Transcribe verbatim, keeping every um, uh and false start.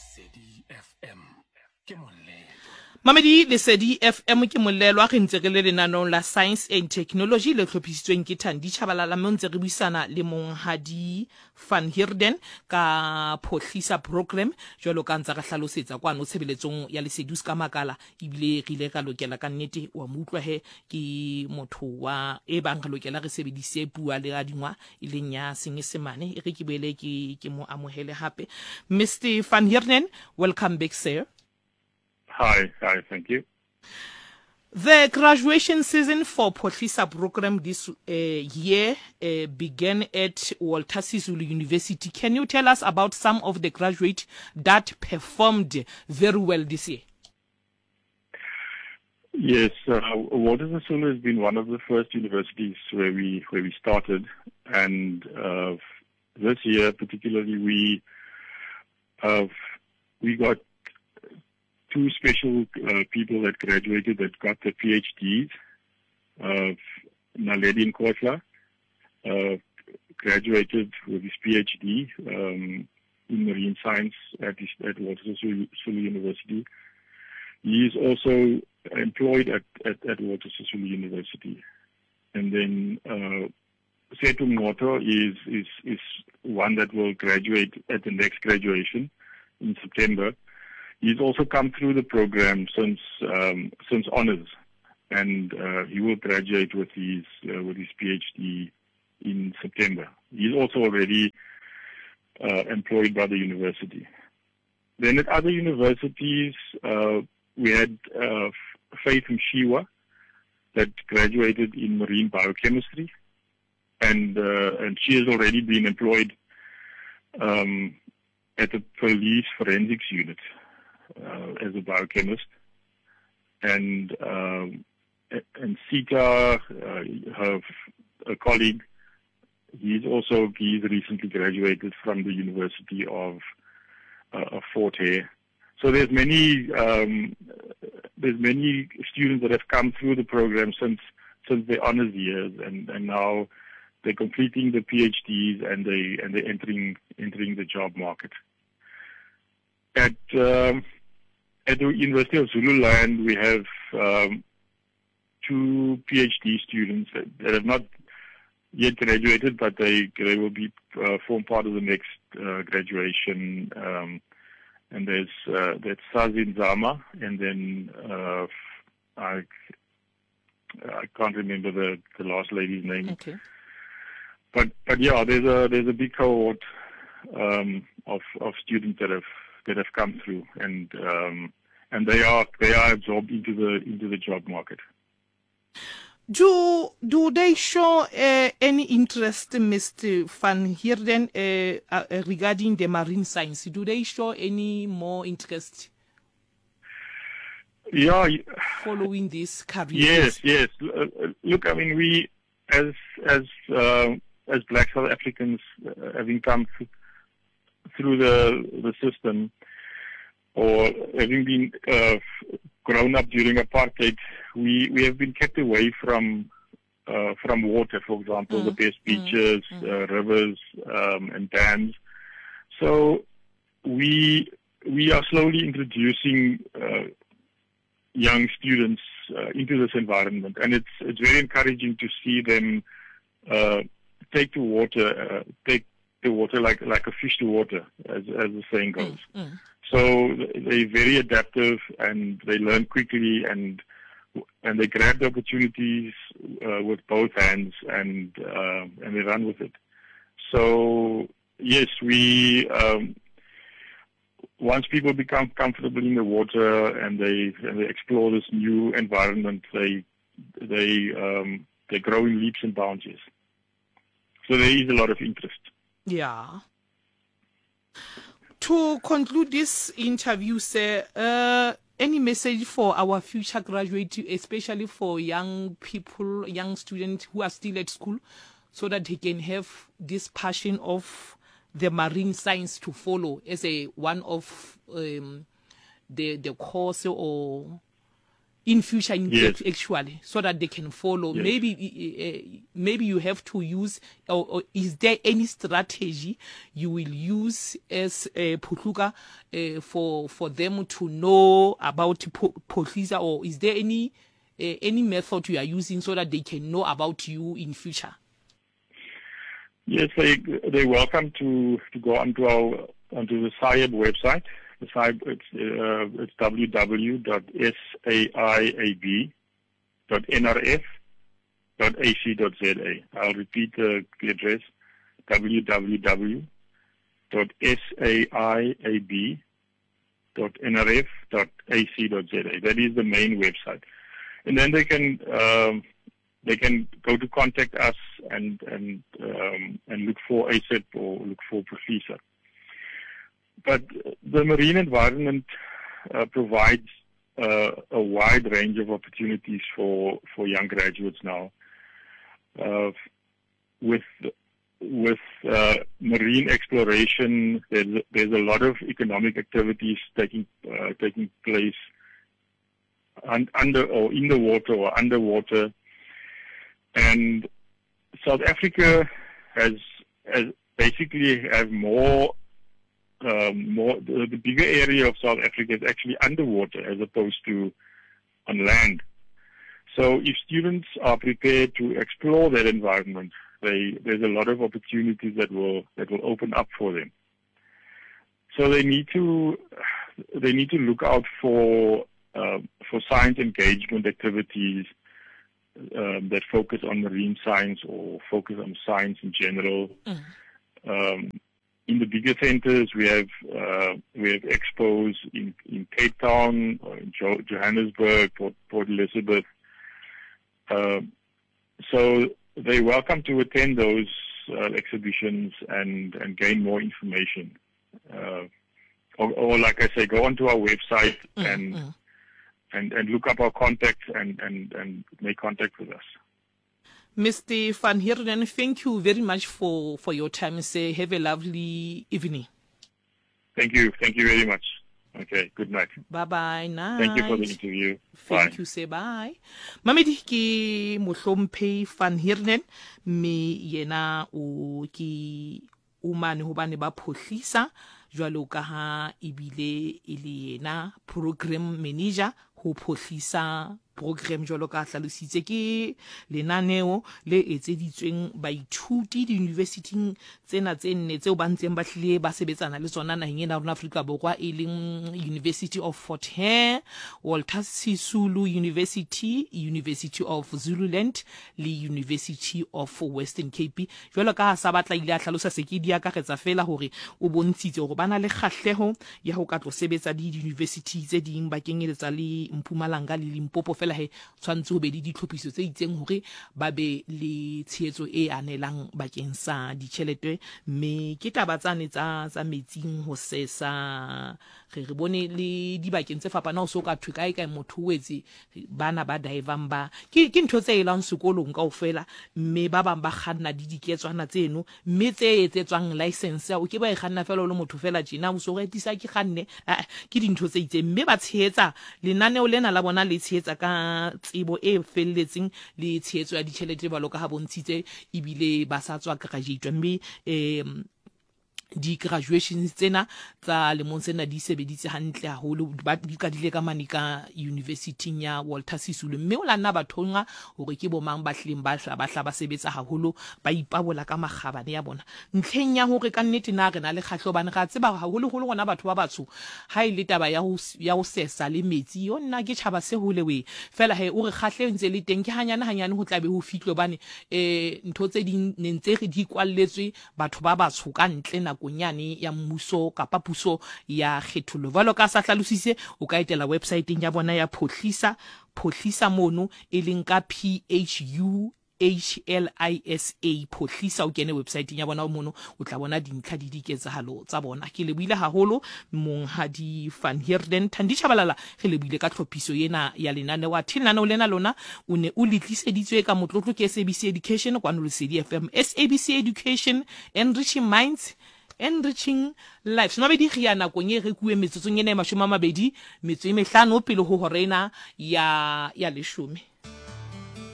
Lesedi F M ke molelwa. Mamedi Lesedi F M ke molelwa, re ntse re le lenaneong la Science and Technology le hlophisitsweng ke Thandi Chabalala, mme ntse re buisana le monghadi Van Heerden ka Phohlisa program, jwalo ka ntse re hlalosetsa kwano tshebeletsong ya Lesedi. O ska makala ebile re ile ra lokela ka nnete wa mo utlwa he ke motho wa e bang re lokela re sebedise puo le adingwa e leng ya Senyesemane. E re ke boele ke ke mo amohele hape. Mister Van Heerden, welcome back, sir. Hi, hi, thank you. The graduation season for Phohlisa program this uh, year uh, began at Walter Sisulu University. Can you tell us about some of the graduates that performed very well this year? Yes, uh, Walter Sisulu has been one of the first universities where we where we started, and uh, this year particularly we uh, we got two special uh, people that graduated that got their P H Ds. Uh, Naledi Nkohla uh, graduated with his P H D um, in marine science at, his, at Walter Sisulu University. He is also employed at, at, at Walter Sisulu University. And then uh, Setu Ngoto is, is, is one that will graduate at the next graduation in September. He's also come through the program since um, since honors, and uh, he will graduate with his uh, with his P H D in September. He's also already uh, employed by the university. Then at other universities, uh, we had uh, Faith Mshiwa that graduated in marine biochemistry, and uh, and she has already been employed um, at the police forensics unit uh, as a biochemist. And um, and Sita, uh, her a colleague, he's also he's recently graduated from the University of uh, of Fort Hare. So there's many um, there's many students that have come through the program since since their honors years, and, and now they're completing the P H Ds and they and they're entering entering the job market. At um, at the University of Zululand, we have um, two P H D students that, that have not yet graduated, but they they will be uh, form part of the next uh, graduation. Um, and there's uh, that's Sazin Zama, and then uh, I I can't remember the, the last lady's name. Okay. But but yeah, there's a there's a big cohort um, of of students that have that have come through, and um, and they are they are absorbed into the into the job market. Do do they show uh, any interest, Mister Van Heerden, uh, uh, regarding the marine science? Do they show any more interest Yeah. following this career? Yes, yes. Look, I mean, we as as uh, as Black South Africans uh, having come th- through the the system, or having been uh, grown up during apartheid, we, we have been kept away from uh, from water, for example, mm. the best beaches, mm. uh, rivers, um, and dams. So we we are slowly introducing uh, young students uh, into this environment, and it's it's very encouraging to see them uh, take to water, uh, take the water like like a fish to water, as as the saying goes. Mm, mm. So they're very adaptive and they learn quickly and and they grab the opportunities uh, with both hands and uh, and they run with it. So yes, we um, once people become comfortable in the water and they and they explore this new environment, they they um, they grow in leaps and bounds. Yes. So there is a lot of interest. Yeah. To conclude this interview, sir, uh, any message for our future graduates, especially for young people, young students who are still at school, so that they can have this passion of the marine science to follow as a one of um, the the course or In future, in Yes. actually, so that they can follow. Yes. Maybe, uh, maybe you have to use, or, or is there any strategy you will use as uh, Phuhluka uh, for, for them to know about Phuhlisa, or is there any, uh, any method you are using so that they can know about you in future? Yes, they, they're welcome to, to go onto our, onto the S A I A B website. The S A I A B, it's, uh, it's w w w dot s a i a b dot n r f dot a c dot z a. I'll repeat the, the address, w w w dot s a i a b dot n r f dot a c dot z a. That is the main website. And then they can, um, they can go to contact us and, and, um, and look for A S E P or look for Phuhlisa. But the marine environment, uh, provides, uh, a wide range of opportunities for, for young graduates now. Uh, with, with, uh, marine exploration, there's, there's a lot of economic activities taking, uh, taking place un-, under or in the water or underwater. And South Africa has, has basically have more, um, more the, the bigger area of South Africa is actually underwater as opposed to on land. So if students are prepared to explore that environment, they, there's a lot of opportunities that will, that will open up for them. So they need to, they need to look out for, uh, for science engagement activities, um, that focus on marine science or focus on science in general. Mm. Um, in the bigger centers, we have, uh, we have expos in, in Cape Town, or in jo- Johannesburg, Port, Port Elizabeth. Uh, so they're welcome to attend those, uh, exhibitions and, and gain more information. Uh, or, or like I say, go onto our website Mm, and, mm. and, and look up our contacts and, and, and make contact with us. Mister Van Heerden, thank you very much for, for your time. Say, have a lovely evening. Thank you. Thank you very much. Okay, good night. Bye-bye. Night. Thank you for the interview. Thank Bye. you, say bye. Mamedi ke mohlomphehi Van Heerden, mme yena o ke o mane hobane ba Phuhlisa jwalo ka ha ebile e le yena program manager ho Phuhlisa program jwalo ka hlalositse ke lenaneo le etseditsweng baithuti di-universityng tsena tse nne tseo ba ntseng ba hlile ba sebetsana le tsona naheng ena ya rona Afrika Borwa, e leng University of Fort Hare, Walter Sisulu University, University of Zululand le University of Western Cape. Jwalo ka ha sa batla ile a hlalosa se ke di akaretsa fela hore o bontshitse hore ba na le kgahleho ya ho ka tlo sebetsa le di-university tse ding ba kenyeletsa le Mpumalanga le Limpopo, fela he tshwantse ho be le ditlhophiso tse itseng hore ba be le tshehetso e anelang bakeng sa ditjhelete. Mme ke taba tsane tsa, tsa metsing ho sesa, re re bone le dibakeng tse fapanang ho so ka thwe kae kae motho o etse bana ba divang ba ke, ke ntho tse elang sekolong kaofela, mme ba bang ba kganna di diketswana tseno, mme tse etsetswang license o ke ba e kganna fela o le motho fela tjena, o so re tisa ke kganne, ah, ke dintho tse itseng. Mme ba tshehetsa lenaneo lena la bona le tshehetsa ka tsebo e felletseng le tshehetso ya ditjhelete jwalo ka ha bontshitse, ebile ba sa tswa graduate, mme, eh, di-graduations tsena tsa lemong sena di sebeditse hantle haholo, ba di qadile ka mane ka university ya Walter Sisulu, mme o la nna ba thonga hore ke bo mang ba hlileng ba hla, ba hla ba sebetsa haholo, ba ipabola ka makgabane ya bona ntlheng ya hore ka nnete na re na le kgahleho, hobane re a tseba haholoholo rona batho ba batsho ha e le taba ya ho, ya ho sesa le metsi, yo nna ke tjhaba se hole we fela he o re kgahleho ntse le teng, ke hanyane hanyane ho tla be ho fihlwe, hobane, eh, ntho tse ding ne ntse re di kwalletswe batho ba batsho ka ntle nako yane ya mmuso kapa puso ya kgethollo. Jwalo ka sa hlalositse, o ka etela websiteng ya bona ya Phuhlisa, Phuhlisa mono e leng ka P H U H L I S A, Phuhlisa, o kene websiteng ya bona mono, o tla bona dintlha di diketsahalo tsa bona. Ke lebohile haholo Monghadi Van Heerden. Thandi Tshabalala, re lebohile ka tlhophiso ena ya lenaneo. Athe lenaneo lena lona o ne o le tliseditswe ka motlotlo ke S A B C Education kwano Lesedi F M. S A B C Education, enriching minds, Enriching Lives. Mabedi re ya nakong e rekuwe metsotsong ena e mashome a mabedi metso e mehlano pele ho hora ena ya ya leshome.